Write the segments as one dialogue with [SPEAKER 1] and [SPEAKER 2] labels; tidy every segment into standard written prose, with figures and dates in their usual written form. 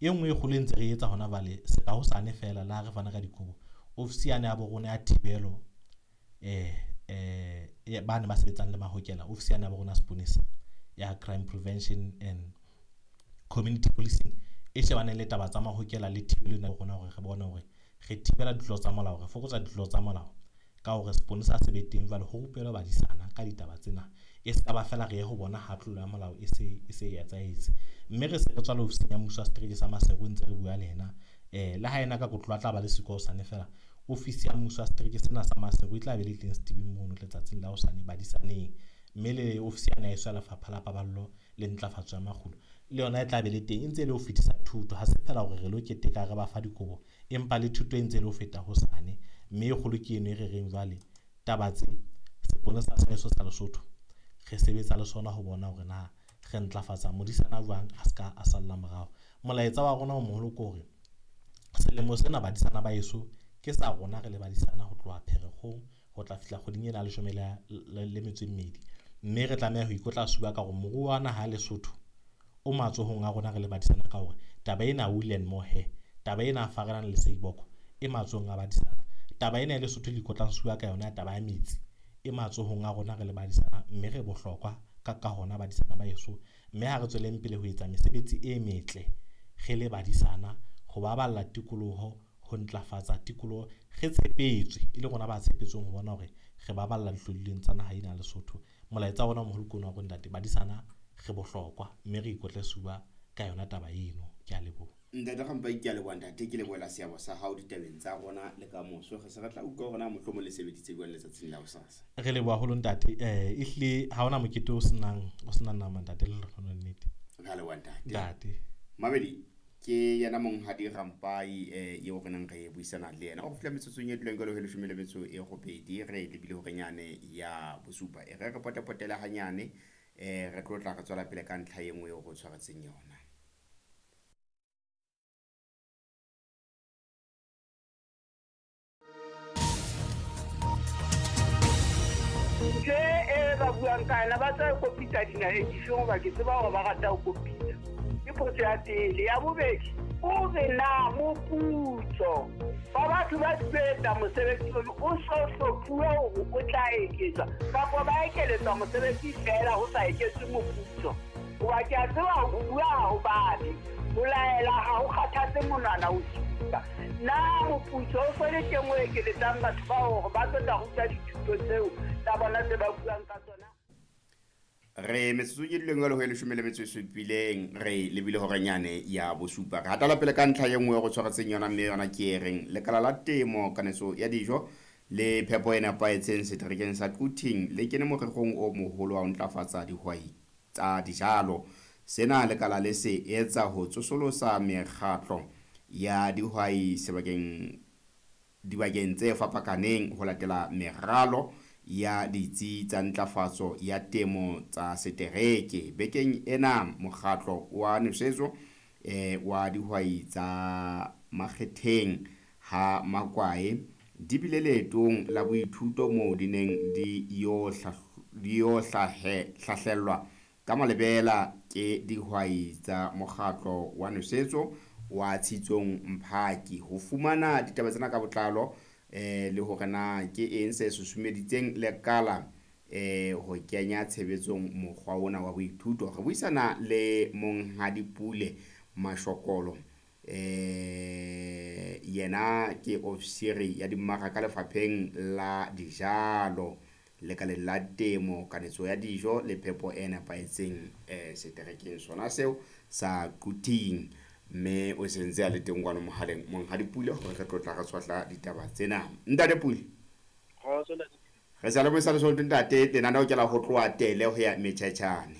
[SPEAKER 1] E nngwe e kgolo e ntse re etsa hona jwale, ka hosane feela le ha re fana ka dikobo, ofisi yane ya bo rona ya thibelo bane ba sebetsang le mahokela, ofisi yane ya bo rona seponesa ya Crime Prevention and Community Policing e shebaneng le taba tsa mahokela le thibelo ena rona hore re bone hore re thibela ditlolo tsa molao, re fokotsa ditlolo tsa molao ka hore seponesa se be teng jwale ho rupelwe badisana ka ditaba tsena. E se ka ba feela re ye ho bona ha tlolo ya molao e se e se e etsahetse. Mme re se re tswa le ofising ya mmuso wa setereke sa Maseru ntse re bua le yena. Le ha ena ka kotloloho a tla ba le siko hosane feela, ofisi ya mmuso wa setereke sena sa Maseru e tla be le teng setibing mono letsatsing la hosane badisaneng. Mme le ofisi ya heso ya Lefapha la Paballo le Ntlafatso ya Makgulo le yona e tla be le teng, e ntse e le ho fetisa thuto. Ha se feela hore re lo keteka re ba fa dikobo, empa le thuto e ntse e le ho feta hosane. Mme e kgolo ke eno e re reng jwale taba tse seponesa sa heso sa Lesotho re sebetsa le sona ho bona hore na re ntlafatsa modisana jwang a ska a salla morao. Molaetsa wa rona o moholo ke hore selemo sena badisana ba heso ke sa rona re le badisana ho tloha Pherekgong ho tla fihla kgweding ena ya leshome le metso e mmedi. Mme re tlameha ho ikotla sefuba ka hore moruo wa naha ya Lesotho o matsohong a rona re le badisana ka hore taba ena wool and mohair, taba ena ya Farelang le Seiboko e matsohong a badisana. Taba ena ya Lesotho le ikotlang sefuba ka yona ya taba ya metsi e matsohong a rona re le badisana, mme re bohlokwa ka hona badisana ba heso. Mme ha re tsweleng pele ho etsa mesebetsi e metle re le badisana, ho baballa tikoloho, ho ntlafatsa tikoloho. Re tshepetswe, e le rona ba tshepetsweng ho bona hore re baballa dihlodilweng tsa naha ena ya Lesotho. Molaetsa wa rona o moholo ke ona wa hore ntate badisana re bohlokwa, mme re ikotle sefuba ka yona taba eno. Ke a leboha.
[SPEAKER 2] Ntate Rampai, ke a leboha ntate, ke lebohela seabo sa hao ditabeng tsa rona le ka moso. Re se re tla utlwa hore na mohlomong le sebeditse jwang letsatsing la hosasa.
[SPEAKER 1] Re leboha haholo ntate. Ehlile ha hona mokete o senang o senang nama ntate, le lona nnete.
[SPEAKER 2] Re a leboha ntate.
[SPEAKER 1] Ntate.
[SPEAKER 2] Mamedi, ke yena monghadi Rampai eo re neng re buisana le yena. O fihla metsotsong e duleng jwalo ho leshome le metso e robedi, re lebile horenyane ya bosupa. E re re potepotele hanyane, re tlo tla re tswela pele ka ntlha e nngwe eo re o tshwaretseng yona.
[SPEAKER 3] Ntho e ba buang ka yona ba tla kopitsa dinaheng difeng, hoba ke tseba hore ba rata ho kopitsa. Ke potso ya pele. Ya bobedi, o re na moputso wa batho ba etsa mosebetsi ono o so hlophuwe hore o tla eketswa kapa ba ekeletswa mosebetsi feela ho sa eketswe moputso? Hoba ke a tseba ho bua ha ho babe, ho laela ha ho kgathatse monwana ho supa. Na moputso o so le teng o ekeletsang batho bao hore ba tlo tla ruta dithuto tseo tsa bona tse ba buang ka tsona?
[SPEAKER 2] Re metsotsong e duleng jwalo ho e leshome le metso e supileng, re lebile horenyane ya bosupa. Re hatela pele ka ntlha e nngwe re tshwaretseng yona, mme yona ke e reng lekala la temo, kanetso ya dijo le phepo e nepahetseng seterekeng sa Quthing le kene morerong o moholo wa ho ntlafatsa dihwai tsa dijalo. Sena lekala le se etsa ho tsosolosa mekgatlo ya dihwai sebakeng dibakeng tse fapakaneng ho latela meralo ya ditsi tsa ntlafatso ya temo tsa setereke. Bekeng ena mokgatlo wa nosetso wa dihwai tsa Makgetheng ha Makwae di bile leetong la boithuto moo di neng di yo hlahlellwa ka malebela ke dihwai tsa mokgatlo wa nosetso wa Tshitsong Mphaki. Ho fumana ditaba tsena ka botlalo le hore na ke eng se susumeditseng lekala ho kenya tshebetsong mokgwa ona wa boithuto, re buisana le Monghadi Pule Mashokolo. Yena ke ofisiri ya dimmaraka lefapheng la dijalo lekaleng la temo, kanetso ya dijo le phepo e nepahetseng seterekeng sona seo sa Quthing. Mme o sentse a le teng kwano mohaleng Monghadi Pule hore re tlo tla re tshwahla ditaba tsena. Ntate Pule, re sa le buisa le Lesotho ntate, lenaneo ke la ho tloha tele ho ya metjhetjhane.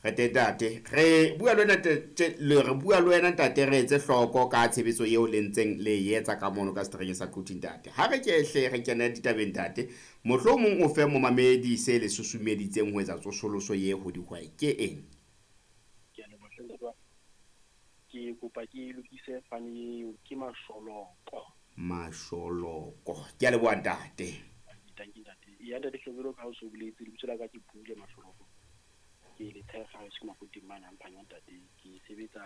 [SPEAKER 2] Re teng ntate, re bua le wena re bua le wena ntate, re etse hloko ka tshebetso eo le ntseng le e etsa ka mono ka seterekeng sa Quthing ntate. Ha re ke hle re kene ditabeng ntate, mohlomong o fe momamedi se le susumeditseng ho etsa tsosoloso ye ho dihwai ke eng?
[SPEAKER 4] Ke a leboha hle ntate wa ka. Ke kopa ke lokise fane eo, ke Masholoko.
[SPEAKER 2] Masholoko. Ke a leboha ntate.
[SPEAKER 4] Thank you ntate. Ya ntate Hlobelo, ka ha o so boletse, lebitso la ka ke Pule Masholoko. Ke le tshefa ke Maputing mane Mphanya ntate. Ke sebetsa